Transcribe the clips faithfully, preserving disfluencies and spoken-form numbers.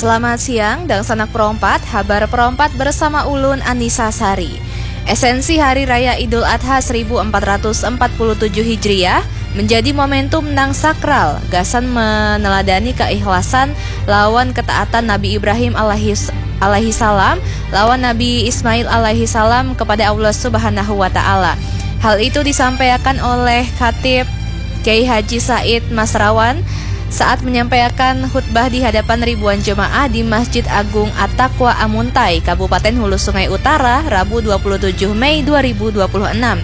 Selamat siang, dangsanak perompat, habar perompat bersama ulun Anisa Sari. Esensi Hari Raya Idul Adha seribu empat ratus empat puluh tujuh Hijriah menjadi momentum nang sakral gasan meneladani keikhlasan lawan ketaatan Nabi Ibrahim alaihis- alaihissalam lawan Nabi Ismail alaihissalam kepada Allah Subhanahu wa Ta'ala. Hal itu disampaikan oleh Khatib Kiai Haji Said Masrawan saat menyampaikan khutbah di hadapan ribuan jemaah di Masjid Agung At-Taqwa Amuntai, Kabupaten Hulu Sungai Utara, Rabu dua puluh tujuh Mei dua ribu dua puluh enam.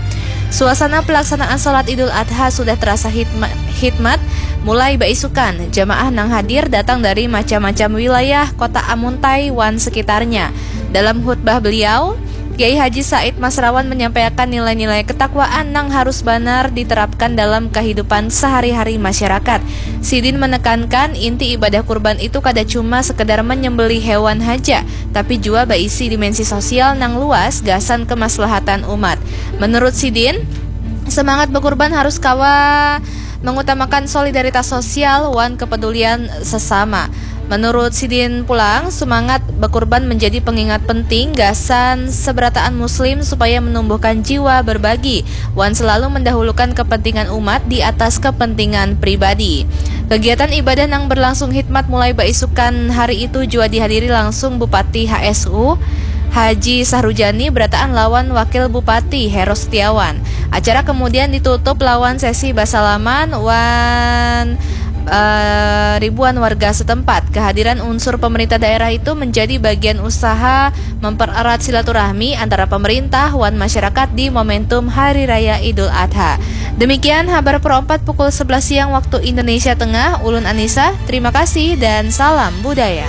Suasana pelaksanaan salat Idul Adha sudah terasa hitma- hikmat. Mulai baisukan, jamaah nang hadir datang dari macam-macam wilayah kota Amuntai wan sekitarnya. Dalam khutbah beliau, Kiai Haji Said Masrawan menyampaikan nilai-nilai ketakwaan nang harus banar diterapkan dalam kehidupan sehari-hari masyarakat. Sidin menekankan inti ibadah kurban itu kada cuma sekedar menyembelih hewan haja, tapi jua baisi dimensi sosial nang luas gasan kemaslahatan umat. Menurut sidin, semangat bekurban harus kawa mengutamakan solidaritas sosial wan kepedulian sesama. Menurut sidin pulang, semangat bekurban menjadi pengingat penting gasan seberataan muslim supaya menumbuhkan jiwa berbagi wan selalu mendahulukan kepentingan umat di atas kepentingan pribadi. Kegiatan ibadah nang berlangsung hikmat mulai baisukan hari itu jua dihadiri langsung Bupati H S U Haji Sahrujani berataan lawan Wakil Bupati Heru Setiawan. Acara kemudian ditutup lawan sesi basalaman wan eh, ribuan warga setempat. Kehadiran unsur pemerintah daerah itu menjadi bagian usaha mempererat silaturahmi antara pemerintah wan masyarakat di momentum Hari Raya Idul Adha. Demikian habar perompat pukul sebelas siang waktu Indonesia Tengah. Ulun Anissa, terima kasih dan salam budaya.